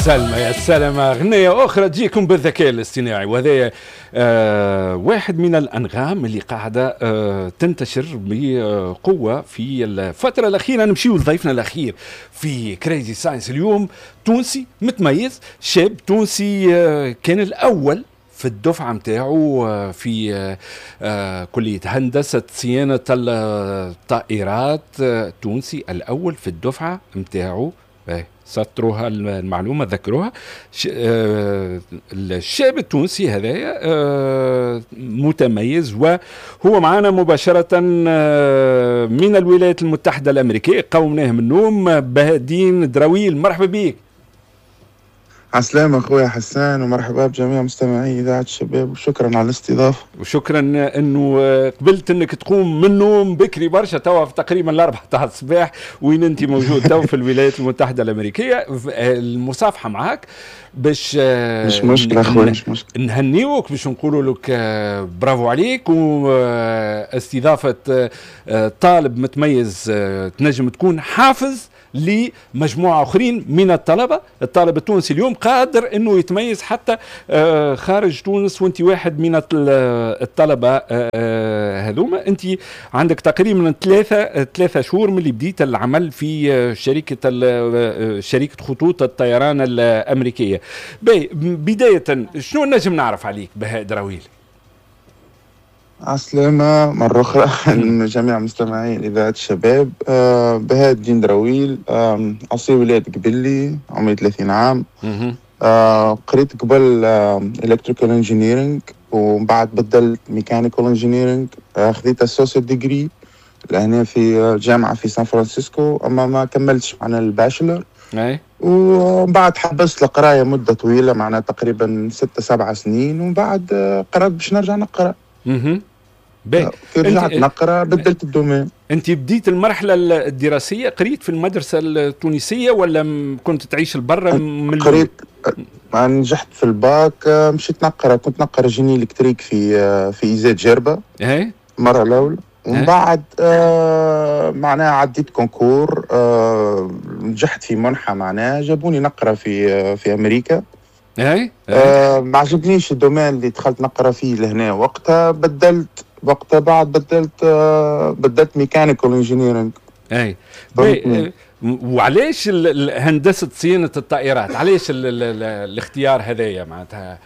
سلمى يا سلمى، أغنية أخرى تجيكم بالذكاء الاصطناعي، وهذا واحد من الأنغام اللي قاعدة تنتشر بقوة في الفترة الأخيرة. نمشيو لضيفنا الأخير في Crazy Science اليوم، تونسي متميز، شاب تونسي كان الأول في الدفعة متاعه في كلية هندسة صيانة الطائرات، تونسي الأول في الدفعة متاعه. سطروها المعلومة، ذكروها. الشاب التونسي هذايا متميز وهو معنا مباشرة من الولايات المتحدة الأمريكية. قومناه من النوم، بهاء الدين دراويل، مرحبا بك. عسلامة أخويا حسان، ومرحبا بجميع مستمعي إذاعة الشباب، وشكرا على الاستضافة. وشكرا انه قبلت انك تقوم من النوم بكري برشا، توا تقريبا 4 تاع الصباح وين انت موجود تو في الولايات المتحدة الأمريكية. المصافحة معك باش مش مشكلة أخويا، مش مشكلة. نهنيوك، باش نقولوا لك برافو عليك، واستضافة طالب متميز تنجم تكون حافز لمجموعة أخرين من الطلبة. الطالب التونسي اليوم قادر أنه يتميز حتى خارج تونس، وأنت واحد من الطلبة هذوما. أنت عندك تقريبا 3 شهور من اللي بديت العمل في شركة خطوط الطيران الأمريكية. باهي، بداية شنو نجم نعرف عليك بهاء دراويل؟ عسلامة مرة أخرى لجميع مستمعي إذاعة الشباب. بهاء الدين دراويل، أصيل ولاية قبلي، عمري 30 عام. قريت قبل electrical engineering ومن بعد بدلت mechanical engineering. خذيت associate degree لهنا في جامعة في سان فرانسيسكو، أما ما كملتش معنا ال bachelor. ومن بعد حبست القراية مدة طويلة، معناها تقريبا 6 7 سنين، ومن بعد قررت باش نرجع نقرا. باهي. كي رجعت نقرا بدلت ال domaine. انت بديت المرحلة الدراسيه، قريت في المدرسة التونسية ولا كنت تعيش لبرا من قريت، نجحت في الباك، مشيت نقرا، كنت نقرا génie électrique في ISET جربه. المرة الاولى، ومن بعد معناها عديت concours، نجحت في منحه، معناها جابوني نقرا في امريكا. ما عجبنيش ال domaine اللي دخلت نقرا فيه لهنا وقتها، بدلت وقتها، بعد بدلت mechanical engineering. اي، وعلاش هندسة صيانة الطائرات؟ علاش الاختيار هذايا؟ معناتها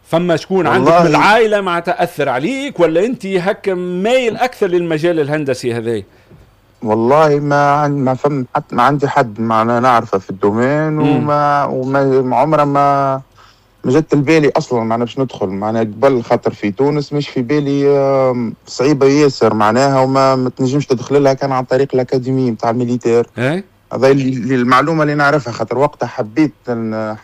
فما شكون عندك من العائلة معناتها اثر عليك، ولا انت هكا مايل اكثر للمجال الهندسي هذايا؟ والله ما فم حتى، ما عندي حد معنا نعرفه في ال domaine، وما عمره ما جت البالي اصلا معنا باش ندخل معناها قبل، خاطر في تونس مش في بالي، صعيبة ياسر معناها، وما ما تنجمش تدخل لها كان عن طريق l'académie نتاع ال militaire. هذا المعلومة اللي نعرفها، خاطر وقتها حبيت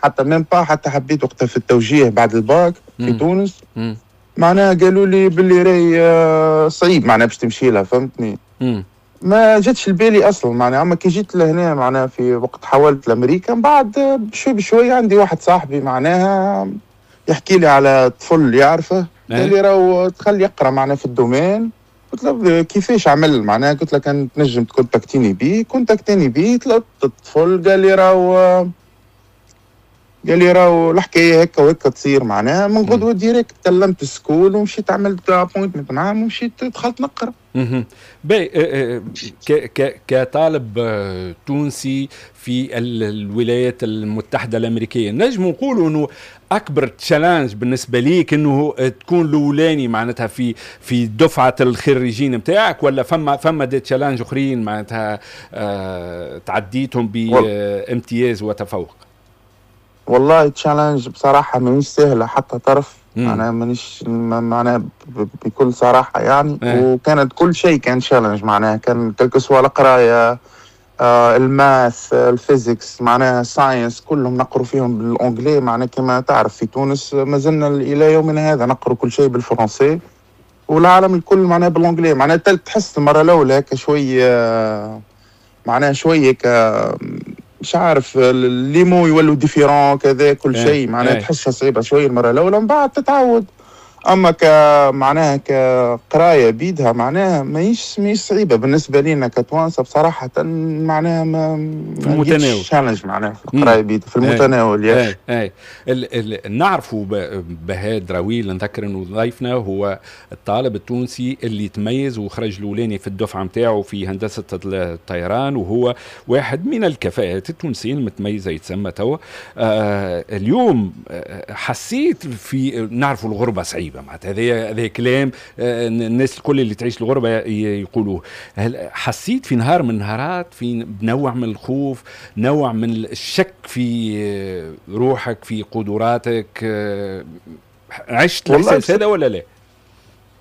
حتى même pas حتى حبيت وقتها في التوجيه بعد الباك في تونس. معناها قالوا لي باللي راي صعيب معناها باش تمشي لها، فهمتني؟ ما جاتش البالي اصلا معناها. اما كي جيت لهنا معناها في وقت حولت لامريكا، من بعد بشوي بشوي عندي واحد صاحبي معناها يحكي لي على طفل يعرفه، قال لي راهو دخل يقرا معناها في ال domaine. قلت له كيفاش عمل معناها؟ قلت له كان تنجم تكونتاكتيني بيه. كونتاكتيني بيه، طلبت الطفل، قال لي راهو الحكاية هكا وهكا تصير. معناها من غدوه direct كلمت ال school ومشيت عملت appointment معاهم ومشيت دخلت نقرا. باهي، كطالب تونسي في الولايات المتحدة الأمريكية، نجم نقولوا أنه أكبر challenge بالنسبة ليك أنه تكون الأولاني معناتها في دفعة الخريجين نتاعك، ولا فما des challenges أخرين معناتها تعديتهم بامتياز وتفوق؟ والله challenge بصراحة مانيش سهلة حتى طرف، معناها مانيش معناها بكل صراحة يعني. وكانت كل شيء كان challenge، معناها كان quel que soit القراية، ال math، ال physics، معناها science، كلهم نقروا فيهم بال anglais. معناها كما تعرف في تونس ما زلنا الى يومنا هذا نقروا كل شيء بالفرنسي، والعالم الكل معناها بال anglais. معناها تحس المرة الاولى هكا شويه، معناها شوية مش عارف، les mots يولوا différents كذا كل شيء، معناها تحسها صعيبة شوية المرة الاولى، من بعد تتعود. اما معناها كقرايه بيدها معناها ماهيش صعيبة بالنسبة لنا كتوانسه بصراحه، معناها ما في المتناول challenge معناها في القراية بيدها في المتناول. اي اي نعرفوا بهاء دراويل، نذكر انه ضيفنا هو الطالب التونسي اللي تميز وخرج الاولاني في الدفعة نتاعو في هندسة الطيران، وهو واحد من الكفاءات التونسيين المتميزة يتسمى توا. اليوم حسيت في نعرفوا الغربة صعيبة، معناتها هذا كلام الناس الكل اللي تعيش الغربة يقولوه. هل حسيت في نهار من النهارات في نوع من الخوف، نوع من الشك في روحك، في قدراتك؟ عشت الاحساس هذا ولا لا؟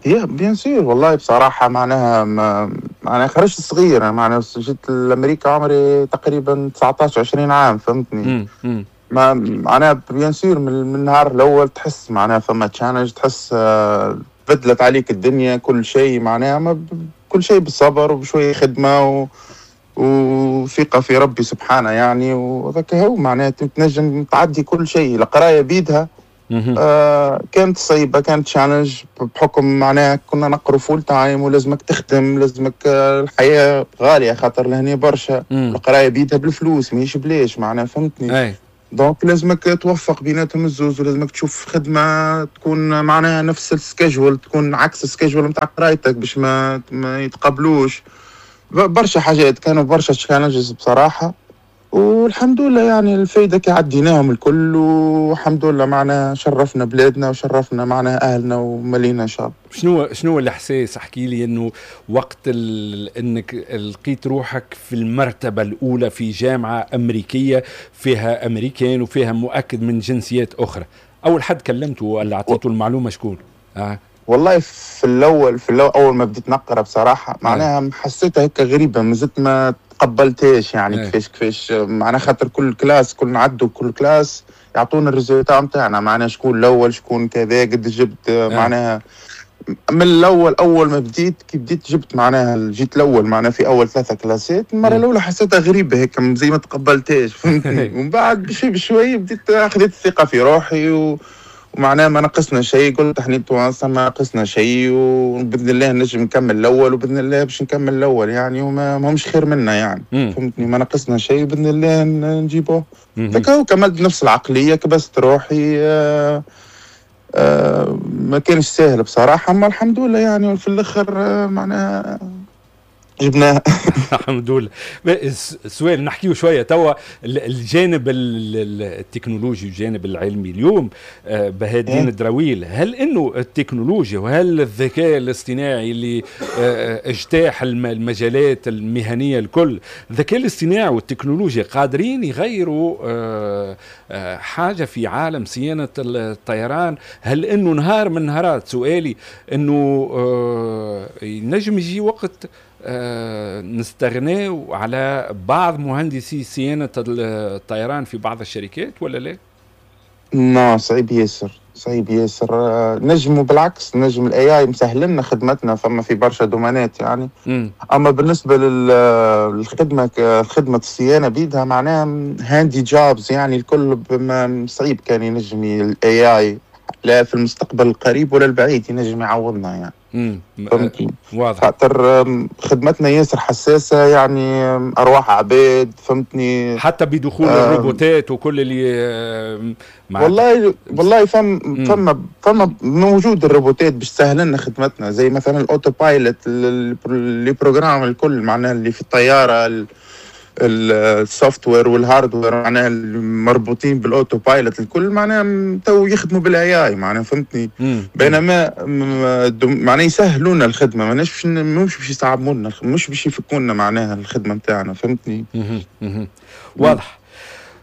yeah bien sûr والله بصراحة معناها معناها خرجت صغير، معناها جيت لأمريكا عمري تقريبا 19 20 عام، فهمتني؟ ما معناها bien sûr من النهار الاول تحس معناها فما challenge، تحس بدلت عليك الدنيا كل شيء، معناها ما كل شيء بالصبر وبشويه خدمة وثقه في ربي سبحانه يعني، وذاك هو معناها تنجم تعدي كل شيء. القراية بيدها كانت صعيبه، كانت challenge بحكم معناها كنا نقروا full time ولازمك تخدم، لازمك الحياة غالية خاطر لهنا برشا، القراية بيدها بالفلوس ماهيش بلاش معناها، فهمتني؟ donc لازمك توفق بيناتهم الزوز، ولازمك تشوف خدمة تكون معناها نفس ال schedule، تكون عكس ال schedule نتاع قرايتك باش ما يتقبلوش. برشا حاجات كانوا برشا challenges بصراحة، والحمد لله يعني الفايدة كي عديناهم الكل، والحمد لله معنا شرفنا بلادنا وشرفنا معنا أهلنا ومالينا إن شاء الله. شنو الإحساس؟ احكي لي إنه وقت إنك لقيت روحك في المرتبة الأولى في جامعة أمريكية فيها أمريكان وفيها مؤكد من جنسيات أخرى، أول حد كلمته ولا أعطيته المعلومة شكون؟ والله في الأول أول ما بديت نقرأ بصراحة معناها حسيتها هيك غريبة، ما زلت ما تقبلتهاش يعني. كيفاش معناها خاطر كل classe كل نعدوا كل classe يعطونا ال résultat نتاعنا، معناها شكون الاول شكون كذا قد جبت. معناها من الاول اول ما بديت كي بديت جبت معناها جيت الاول معناها في اول 3 كلاسات. المرة الاولى حسيتها غريبة هيك زي ما تقبلتهاش، فهمتني؟ ومن بعد بشوي بشوي بديت اخذت الثقة في روحي ومعناها ما نقصنا شيء، قلت احنا توانسة ما نقصنا شيء وباذن الله نجم نكمل الاول، وباذن الله باش نكمل الاول يعني، وما همش خير منا يعني، فهمتني؟ ما نقصنا شيء باذن الله نجيبوه. فكاو كملت نفس العقلية، كبست روحي. ما كانش سهل بصراحة، اما الحمد لله يعني في الاخر معناها جبناها. الحمد لله. سؤال نحكيه شوية توا الجانب التكنولوجي والجانب العلمي اليوم. بهاء الدين الدراويل، هل انه التكنولوجيا وهل الذكاء الاصطناعي اللي اجتاح المجالات المهنية الكل، الذكاء الاصطناعي والتكنولوجيا قادرين يغيروا حاجة في عالم صيانة الطيران؟ هل انه نهار من نهارات، سؤالي انه ينجم يجي وقت نستغنى على بعض مهندسي صيانة الطيران في بعض الشركات ولا لا؟ لا، صعيب ياسر، صعيب ياسر. نجم بالعكس، نجم ال AI مسهل لنا خدمتنا، فما في برشا دومانات يعني. اما بالنسبة للخدمة، خدمة الصيانة بيدها معناها handy jobs يعني الكل صعيب كان ينجم ال AI لا في المستقبل القريب ولا البعيد ينجم يعوضنا يعني. فهمتني؟ واضح. خاطر خدمتنا ياسر حساسة يعني، ارواح عباد، فهمتني؟ حتى بدخول الروبوتات وكل اللي والله فما موجود الروبوتات باش تسهل لنا خدمتنا، زي مثلا ال autopilot، les programmes الكل معناها اللي في الطياره، ال software وال hardware معناها المربوطين بال autopilot الكل معناها تو يخدموا بال AI معناها، فهمتني؟ بينما معناها يسهلوا لنا الخدمة، ماناش مش باش يصعبوا لنا، مش باش يفكوا لنا معناها الخدمة نتاعنا، فهمتني؟ واضح.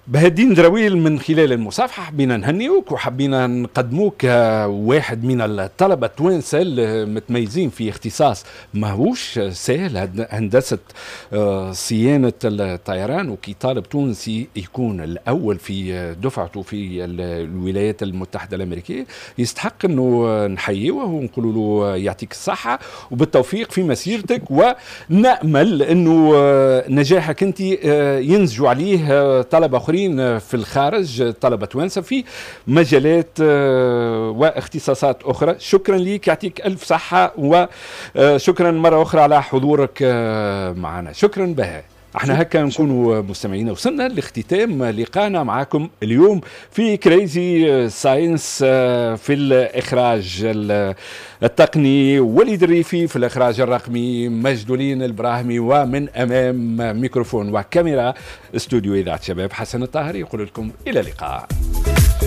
بهاء الدين دراويل، من خلال المصافحة حبينا نهنيوك وحبينا نقدموك واحد من الطلبة التوانسة المتميزين في اختصاص ماهوش سهل، هندسة صيانة الطيران، وكي طالب تونسي يكون الأول في دفعته في الولايات المتحدة الأمريكية يستحق أنه نحييه ونقول له يعطيك الصحة وبالتوفيق في مسيرتك، ونأمل أنه نجاحك أنت ينزجوا عليه طلبة آخرين اخرين في الخارج، طلبه توانسة في مجالات واختصاصات اخرى. شكرا لك، يعطيك الف صحه، وشكرا مرة اخرى على حضورك معنا. شكرا بهاء. احنا هكا نكونوا مستمعينا وصلنا لاختتام لقانا معكم اليوم في Crazy Science. في الاخراج التقني وليد الريفي، في الاخراج الرقمي مجدولين البراهمي، ومن امام ميكروفون وكاميرا استوديو اذاعة شباب حسن الطاهري، يقول لكم الى اللقاء.